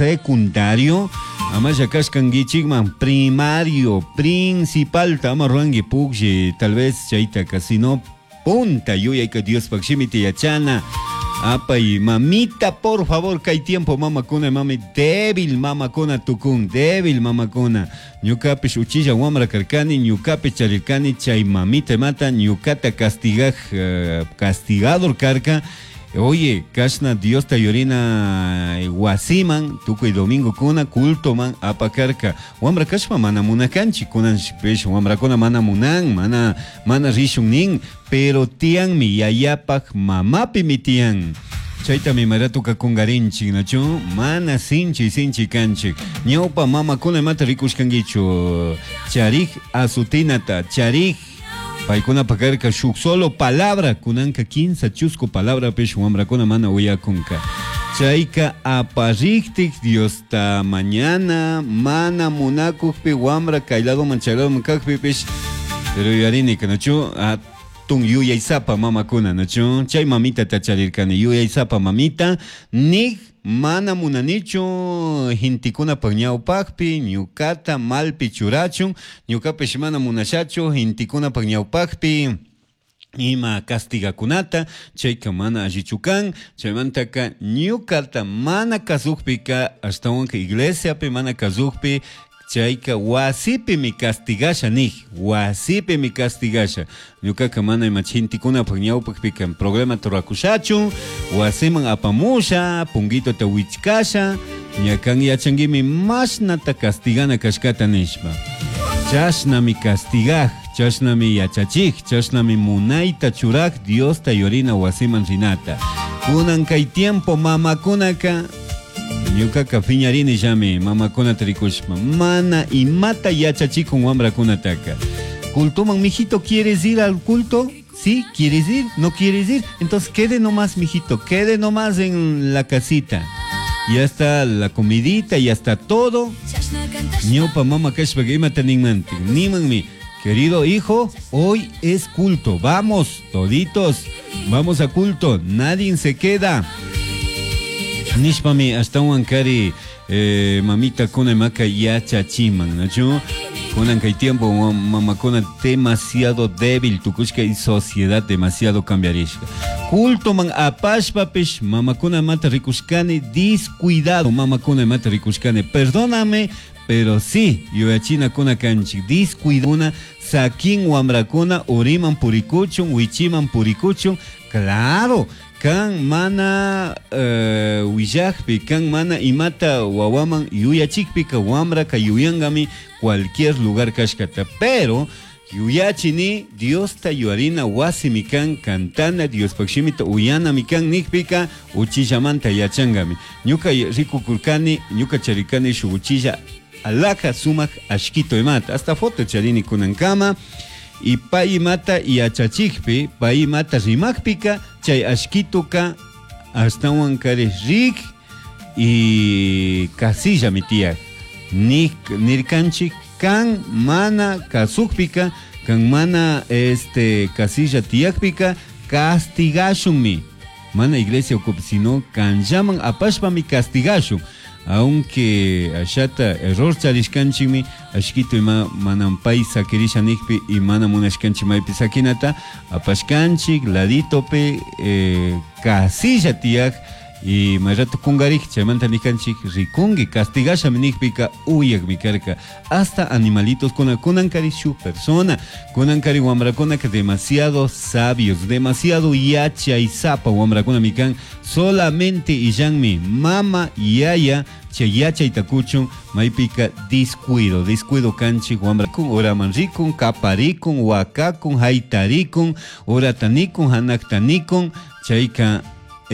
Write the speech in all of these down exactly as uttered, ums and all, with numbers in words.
Secundario, amalla kashkankichikman primario, principal ama ruranki pukllay, tal vez chaytaka, sino punta yuyayka Diospaj shimita yachana. Apay, mamita, por favor, kay tiempo mamakuna, mami, débil mamakuna tukun, débil mamakuna. Ñukapish uchilla wamra karkani, ñukapish charirkani, chay mamita mata, ñukata castigaj, eh, castigador karka. Oye, kashna Diosta yurina wasiman, tukuy domingo kuna, culto man apakarka. Wamra kashpa mana munakanchik, kunan pish wamrakuna mana munan, mana, mana rishun nin, pero tiyanmi yayapak mamapimi tiyan. Chaytami maratuka kungarinchik, nachu? Mana sinchi sinchi kanchik. Ñawpa mamakuna imata rikushkankichu. Charik azutinata, charik paykuna pakarka shuk solo palabra, kunanka kinsa chusku palabra pish wamrakuna mana uyakunka. Chayka apariktik Diosta mañana mana munakukpi wamra kay ladoman chay ladoman kakpi pish, pero yuyarini nachu atun yuyaysapa mamakuna nachu chay mamita tacharirkani yuyaysapa mamita nik mana munanichu gentekunapaj ñawpakpi ñukata malpi churachun ñukapish mana munashachu gentekunapaj ñawpakpi ima castigakunata chayka mana allichu kan chaymantaka ñukata mana kasukpika ashtawanka iglesiapi mana kasukpi chayka wasipimi castigasha nik wasipimi castigasha ñukaka mana ima gentekunapaj ñawpakpika problemata rurakushachu wasiman apamusha punguitota wichkasha ña kan yachankimi mashnata castigana kashkata nishpa chashnami castigaj chashnami yachachik chashnami munayta churak Diosta yurina wasiman rinata kunan kay tiempo mamakunaka ñukaka piñarini llami mamakunata rikushpa mana imata yachachikun wamrakunataka cultoman mijito, ¿quieres ir al culto? ¿Sí? ¿Quieres ir? ¿No quieres ir? Entonces quede nomás, mijito, quede nomás en la casita. Ya está la comidita, ya está todo. Ñawpa mama kashpaka imata ninmantik nimanmi, querido hijo, hoy es culto, vamos, toditos, vamos a culto, nadie se queda. Nishpami ashtawan kari eh, mamita kuna maka yachachiman, nachu? Kunan kay tiempo mamakuna demasiado débil tukushka y sociedad demasiado cambiarishka. Culto man apashpapish mamakuna mata rikushkani descuidado mamakuna mata rikushkani, perdóname, pero sí, yuyachina kuna kanchik descuiduna sakin wamrakuna uriman purikuchun wichiman purikuchun, claro, kan mana uh, willakpi, kan mana imata wawaman yuyachikpika wamraka yuyangami cualquier lugar kashkata, pero yuyachini Diosta yuyarina wasimi kan kantana Diospaj shimita uyanami kan nikpika uchillamanta yachangami. Ñuka rikukurkani, ñuka charikani shuk uchilla alhaja sumak ashkito imata, hasta foto charini kunankama. Y pay imata yachachikpi, pay imata rimakpika, chay ashkituka ashtawan kari rik y kasillami tiyak. Nik, nirkanchik kan mana kasukpika, kan mana este kasilla tiyakpika, castigashunmi. Mana iglesia ukupi, sino kanllaman apashpami castigashun. Aunque ashata error charishkanchikmi ashkito ima manam pay sakirisha nikpi y mana munashkanchik maypi sakinata apashkanchik laditopi eh, kasilla tiyak y may rato kungarik chaymanta nikanchik rikunki castigashami nikpika uyakmi karka hasta animalitos kuna kunankari shuk persona kunankari wamrakunaka demasiado sabios demasiado yachaysapa wamrakunami kan solamente illanmi mama yaya chay yachayta kuchun maypika descuido descuido kanchik wamrakun uraman rikun kaparikun wakakun haytarikun uratanikun hanaktanikun chayka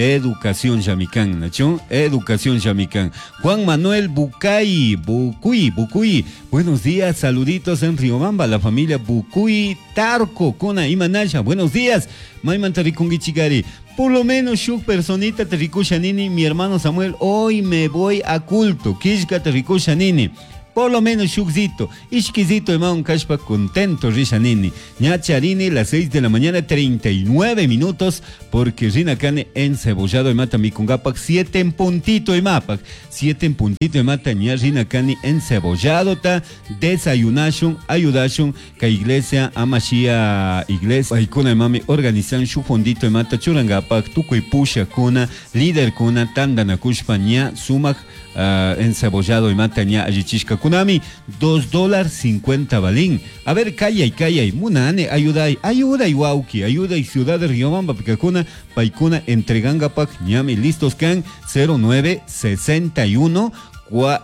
educación llamikan, nachu? Educación llamikan. Juan Manuel Bucay, Bucuy, Bucuy. Buenos días, saluditos en Riobamba, la familia Bucuy Tarco, Kona Imanasha. Buenos días, Maymanta rikunguichigari. Por lo menos shuk personita te rikusha nini, mi hermano Samuel, hoy me voy a culto. Kishka te rikusha nini. Por lo menos shukzito, ishkizito imawan kashpa contento risha nini. Ña charini las seis de la mañana treinta y nueve minutos, porque rina kani encebollado imata mikungapak siete en puntito imapak. Siete en puntito imata ña rina kani encebollado ta desayunashun, ayudashun, ka iglesia amashia iglesia paykuna imami organizan shu fondito imata churangapak tukuy pusha kuna, líder kuna, tandanakushpa ña sumak, uh, encebollado imata ña allichishka kunami, dos dólares cincuenta balín. A ver, callay, callay, munane, ayuday, ayuday, wauki, ayuday, ciudad de Riobamba, pikakuna, paikuna, entregangapak, ñami, listos kan, cero nueve sesenta y uno,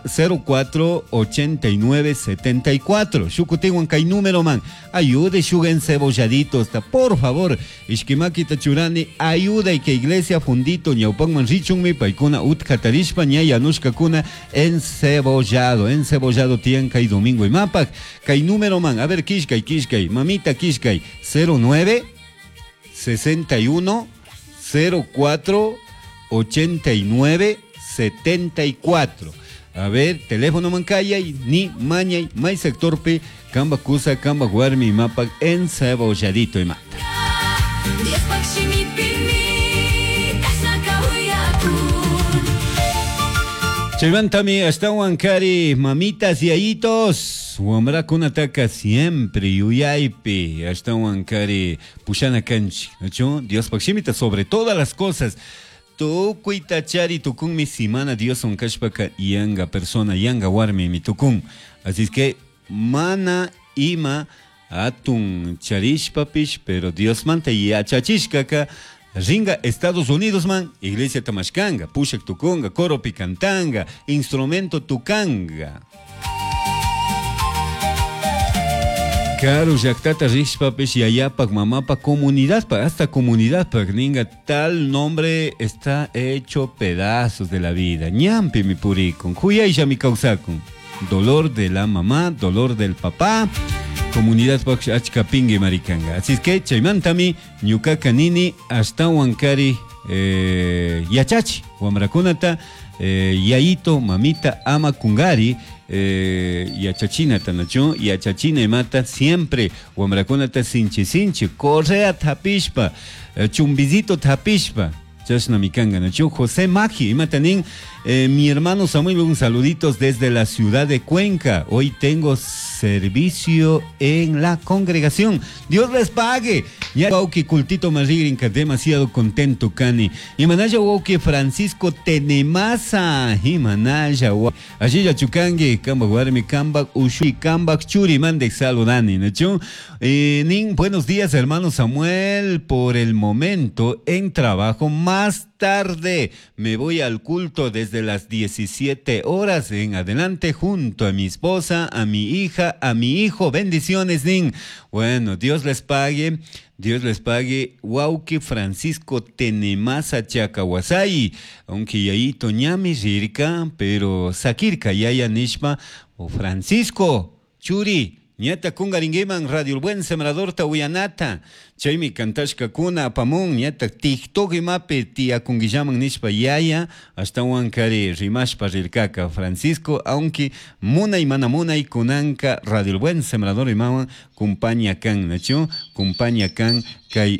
cero cuatro ochenta y nueve setenta y cuatro. Shukutinwan kay número man. Ayude shuga encebolladitos, ta, por favor. Ishkimakita churani, ayuda y que iglesia fundito ñawpanman richunmi paykuna utkatarishpa ña yanushkakuna encebollado, encebollado tian kay domingo y mapak. Kay número man. A ver, kishkay, kishkay, mamita kishkay, cero nueve sesenta y uno cero cuatro ochenta y nueve setenta y cuatro. A ver, teléfono mancaya y ni mañay, may sectorpe, kamba kusa, kamba guarmi, mapa encebolladito y mata. Chaymantami hasta Huancari, mamitas y ayitos, wamrakunataka siempre yuyaypi, hasta Huancari, pushana kanchi, ¿no? Dios pakshimita sobre todas las cosas. Tukuy tachari tukun mi simana Dios onkashpaka yanga persona, yanga warmi mi tukun. Así es que mana ima atun charishpapish, pero Dios manta yachachishkaka ringa Estados Unidos man, iglesia tamashkanga, pushak tukunga, coro picantanga, instrumento tukanga. Karu llaktata rishpapish yayapak mamapak comunidad pa, hasta comunidad pa, ninga tal nombre está hecho pedazos de la vida. Ñampi mi purikun, huyaylla mi kawsakun. Dolor de la mamá, dolor del papá, comunidad pak achka pingui marikanga. Así es que chaymantami ñukaka nini hasta Huancari, eh, yachachi, wamrakunata, eh, yayito, mamita, ama kungari, eh, yachachina tanacho, yachachina imata siempre wamrakunata sinchi sinchi, correa tapishpa, eh, chumbizito tapishpa, chashna mikanga nacho. José Magi, imata nin, eh, mi hermano Samuel, un saluditos desde la ciudad de Cuenca. Hoy tengo servicio en la congregación. Dios les pague. Ya wauki cultito marigrinka, demasiado contento kani. Imanaya wauki Francisco Tenemasa. Imanaya wa. Allí ya chukangi, kamba guarmi, kamba ushui, kamba churi, mande saludani, nacho. Eh, nin, buenos días, hermano Samuel. Por el momento en trabajo, más tarde me voy al culto desde las diecisiete horas en adelante junto a mi esposa, a mi hija, a mi hijo. Bendiciones, nin. Bueno, Dios les pague, Dios les pague. Wauki Francisco Tenemasa Chacahuasay, aunque yayito ñami rirka, pero sakirka yaya nishpa o Francisco Churi. Ñata kungaringuiman Radio El Buen Sembrador tahuyanata. Chaymi kantashka kuna apamun ñata TikTok imapi tia kunguillaman nishpa yaya hasta Huancari rimashpa rirkaka Francisco, aunque munay mana munay kunanka Radio El Buen Sembrador imawan kumpaña kan nacho, kumpaña kan kay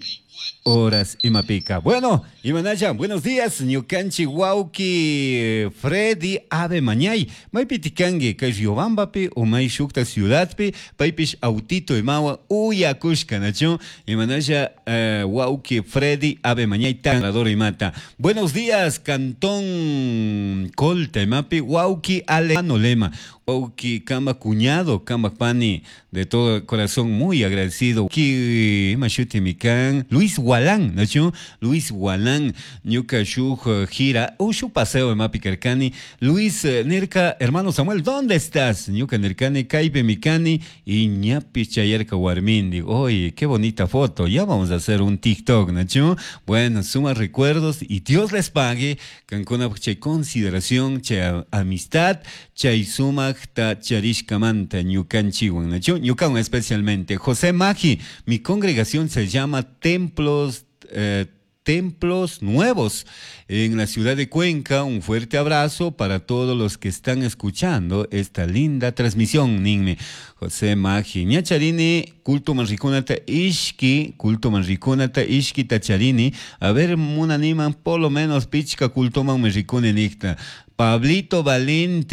horas imapika. Bueno, imanaya, buenos días, ñukanchi wauki Freddy Ave Mañay, maypitikangi kay Riobambapi o may shukta ciudadpi, paypish autito imawa uyakushka nacho, imanaya, eh, wauki Freddy Ave Mañay tanador imata. Buenos días, Cantón Colta imapi, wauki Alejandro Lema. Wauki kamba cuñado, kamba pani, de todo corazón muy agradecido. Ki mashuti mikan, Luis Gualán, ¿no? Luis Gualán, ñuka shuj gira, ushu paseo de mapi kerkani. Luis Nirka, hermano Samuel, ¿dónde estás? Ñuka Nirkani, kaipe mikani, y ñapi chayerka warmindi. Oye, qué bonita foto, ya vamos a hacer un TikTok, ¿no? Bueno, suma recuerdos y Dios les pague. Cancuna, che consideración, che amistad, chay suma ta charishkamanta ñukanchiwan, ¿no? Ñukan especialmente. José Magi, mi congregación se llama Templos, eh, Templos Nuevos en la ciudad de Cuenca. Un fuerte abrazo para todos los que están escuchando esta linda transmisión. Ninmi José Magi. Ñacharini, culto manrikunata ishki, culto manrikunata ishki tacharini. A ver, munaniman por lo menos pichka culto man me rikuni nikta. Pablito Valente.